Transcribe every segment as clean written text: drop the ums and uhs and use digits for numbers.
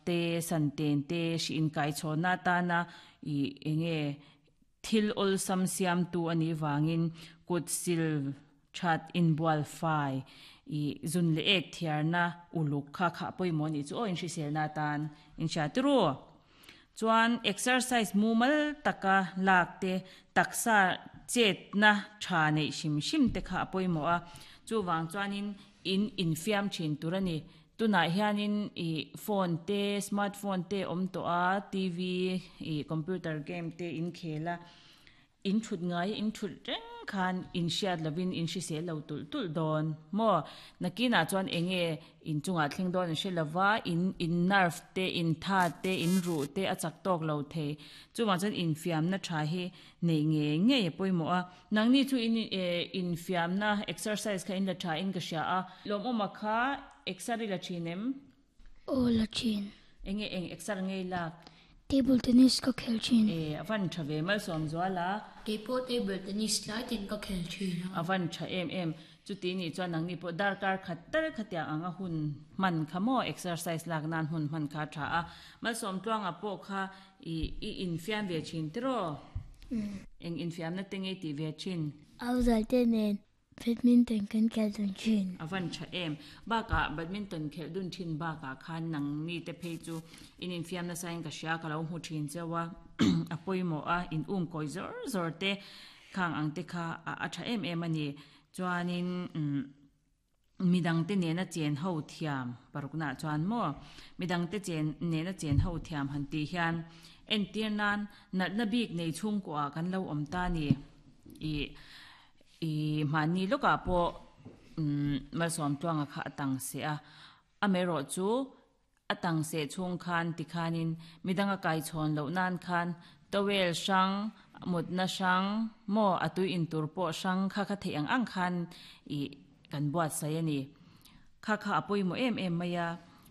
te, santen te, hri inkaichhawnna atana ih enge thil awlsam siamtu a nih vangin kut sil that inbual fai ih zun leh ek thiarna uluk kha kha a pawimawh a nih chu aw inhriselna atan inhria turu. Chuan exercise mumal taka lak te, taksa chetna tha neih hrim hrim te kha a pawimawh a, chuvang chuanin in infiam thin tur a ni. Tunah hianin ih phone te, smart phone te awm tawh a, TV ih computer game te in khel a, In thut ngai in thut reng khan in hriat lovin in hrisel lo tulh tulh dawn maw? Nakinah chuan eng nge in chungah thleng dawn an hre lova, in in nerve te, in tha te, in ruh te a chak tawk lo thei. Chuvang chuan infiamna tha hi neih ngei ngei a pawimawh a. Nangni chu in infiamna exercise kha in la tha in ka hria a. Lawmawma kha exer i la thin em? Aw la thin. Enge eng exer ngei lak? Table tennis ka khel thin. E a van tha ve Malsawm zual a. Kei pawh table tennis tlai tin ka khel thin a. A van tha em em. Chuti nih chuan nangni pawh darkar khat tal khatiang anga hun hman kha maw exercise lak nan hun hman kha a tha a. Malsawm tluanga pawh kha i i infiam ve thin tiraw? Eng infiamna te ngei tih ve thin? Auzal te nen Badminton kan khelh dun thin. A van tha em. Bakah badminton khelh dun thin bakah khan nang mite phei chu in infiam nasa in ka hria ka lo hmu thin cheu a, a pawimawh a, in um kawi zawr zawr te khang ang te kha a tha em em a ni. Chuanin umm midangte nena chen ho thiam paruknaah chuan maw midangte chen nena chen ho thiam han tih hian entir nan natna bik nei chhungkuaah kan lo awm ta a ni. Ih. I mahni lawkah pawh Malsawm Tluanga kha a tang seh a, amaherawh chu a tang seh chhung khan tikhanin midang a kaichhawn loh nan khan towel hrang, mutna hrang maw a tui intur pawh hrang kha kha theih ang ang khan i kan buatsaih a ni. Kha kha a pawimawh em em mai a,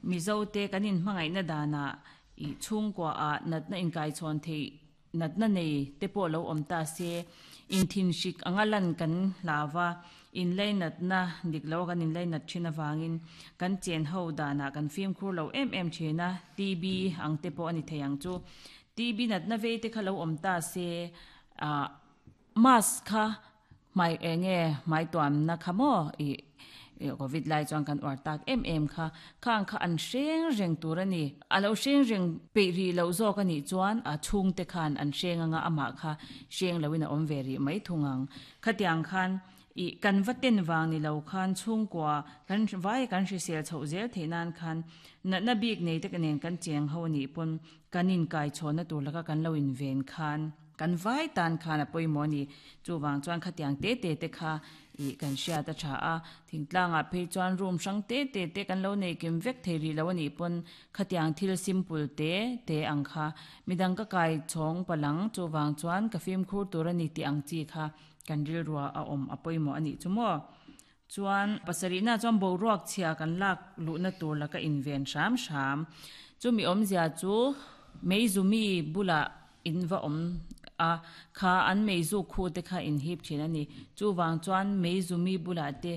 Mizote kan inhmangaihna danah i chhungkuaah natna inkaichhawn theih Natna nei te pawh lo awm ta se, inthinhrik anga lan kan hlau a, inlainatna dik lo a kan inlainat thin avangin kan chen ho danah kan fimkhur lo em em thin a, TB ang te pawh a ni thei ang chu. TB natna vei te kha lo awm ta se, ah mask kha Hmai eng nge hmai tuamna kha maw ih Covid lai chuan kan uar tak em em kha. Khang kha an hreng reng tur a ni. A lo hreng reng peih rih loh zawk a nih chuan a chhungte khan an hreng anga amah kha hreng loin a awm ve rih mai thung ang. Khatiang khan ih kan va ten vang ni lo khan chhungkua kan vai kan hrisel chhoh zel theih nan khan natna bik nei te nen kan cheng ho a nih pawn kan inkaichhawnna tur laka kan lo inven khan Kan vai tan khan a pawimawh a ni. Chuvang chuan khatiang te te te kha ih kan hriat a tha a. Thingtlangah phei chuan room hrang te te te kan lo nei kim vek thei rih lo a nih pawn khatiang thil simple te te ang kha midang ka kai chhawng palang chuvang chuan ka fimkhur tur a ni tih ang chi kha kan rilruah a awm a pawimawh a nih chu maw. Chuan pasarihna chuan boruak chhia kan lak luhna tur laka inven hram hram. Chumi awmzia chu meizumi bulah in va awm a, kha an meizuk khu te kha inhip thin a ni. Chuvang chuan meizumi bulah te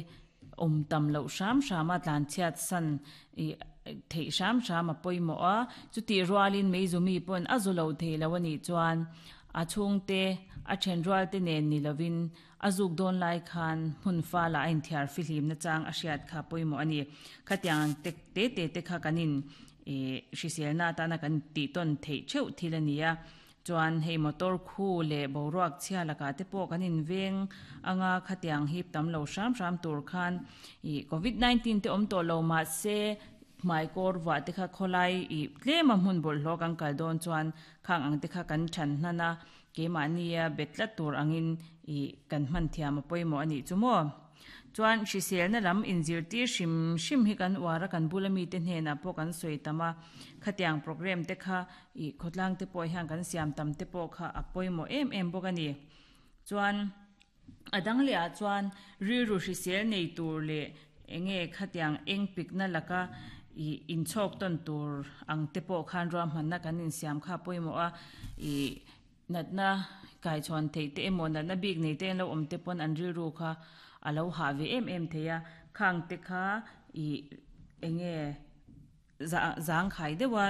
awm tam loh hram hram a, tlanchhiat san ih theih hram hram a pawimawh a. Chutih rualin meizumi pawn a zu lo thei lo a nih chuan a chhungte a thenrual te nen ni lovin A zuk dawn lai khan hmun fala a inthiar fihlimna chang a hriat kha pawimawh a ni. Khatiang ang te te te te kha kan in hriselna atana kan tih tawn theih theuh thil a ni a. Chuan hei motor khu leh boruak chhia lakah te pawh kan inveng anga khatiang hip tam lo hram hram tur khan ih covid 19 te awm tawh lo mahse hmaikawr vuah te kha khawlai ih tlema hmun bawlhhlawh kan kal dawn chuan khang ang te kha kan than hnan a. Keimahnia bet tlat tur angin ih kan hman thiam a pawimawh a nih chu maw? Chuan hriselna lam inzirtir hrim hrim hi kan uar a, kan bula mite hnenah pawh kan sawi tam a, khatiang programme te kha ih khawtlang te pawh hian kan siam tam te pawh kha a pawimawh em em bawk a ni. Chuan a dang leh ah chuan rilru hrisel nei tur leh enge khatiang eng pikna laka ih inchhawk tawn tur ang te pawh khan ruahmanna kan insiam kha a pawimawh a, ih natna kaichhawn theih te emaw natna bik nei te an lo awm te pawn an rilru kha a lo hah ve em em thei a, khang te kha ih enge zangkhai deuh a.